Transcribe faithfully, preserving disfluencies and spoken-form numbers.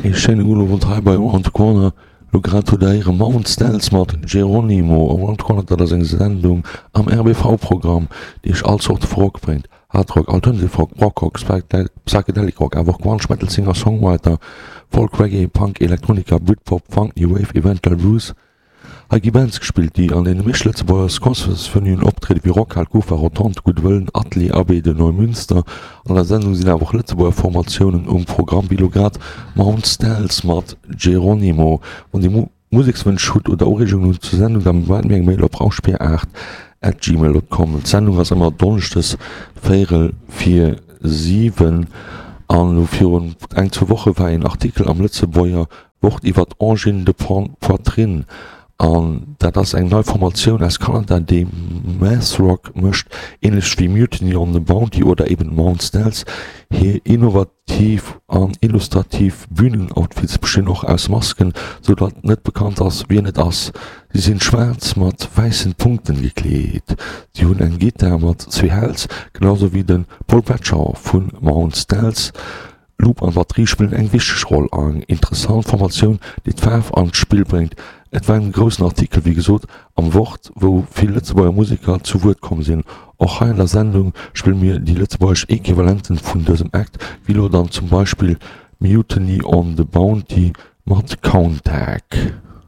Ee schéine gudden Owend hei bei Around the Corner. Lo grad hutt der héiere Mount Stells mat Geronimo. Around the Corner, dat ass eng Sendung am R B V Programm, déi iech all Zorte vu Rock bréngt, Hard Rock, Alternative Rock, Prog Rock, Psychedelic Rock, awer och Grunge, Metal, Singer Songwriter, Folk, Reggae, Punk, Elektronika, Britpop, Funk, New Wave, eventuell Blues. Hei gi Bands gespillt, déi an deene meescht Lëtzebuerger Concertsvenuen optrieden, wéi Rockhal, Kufa, Rotonde, Gudd Wëllen, Atelier, Abbaye de Neumünster. An der Sendung sinn awer och Lëtzebuerger Formatiounen um Programm, wéi elo grad Mount Stells mat Geronimo. Wann Dir Musekswënsch hutt oder Ureegungen hutt zur Sendung, da maacht mir eng Mail op rauschbier aacht at gmail dot com. D'Sendung ass ëmmer donneschdes véierel vir siwen. An elo virun eng, zwou Woche war een Artikel am Lëtzebuerger Wort iwwer d'Angine de Poitrine. An dat ass eng nei Formatioun aus Kanada, déi Math Rock mécht, ähnlech wéi Mutiny on the Bounty oder eben Mount Stells. Hir innovativ an illustrativ Bühnenoutfits bestinn och aus Masken, sou datt net bekannt ass, wien et ass. Si sinn schwaarz mat wäissen Punkten gekleet. Si hunn eng Gittar mat zwee Häls, genau sou wéi de Paul Bradshaw vu Mount Stells. Loop an Batterie spillen eng wichteg Roll a eng interessant Formatioun, déi d'Faarf an d'Spill bréngt. Et war en groussen Artikel, wéi gesot, am Wort, wou vill Lëtzebuerger Museker zu Wuert komm sinn. Och hei an der Sendung spille mir déi lëtzebuergesch Equivalenten vun dësem Act, wéi lo dann zum Beispill Mutiny on the Bounty mat Countach.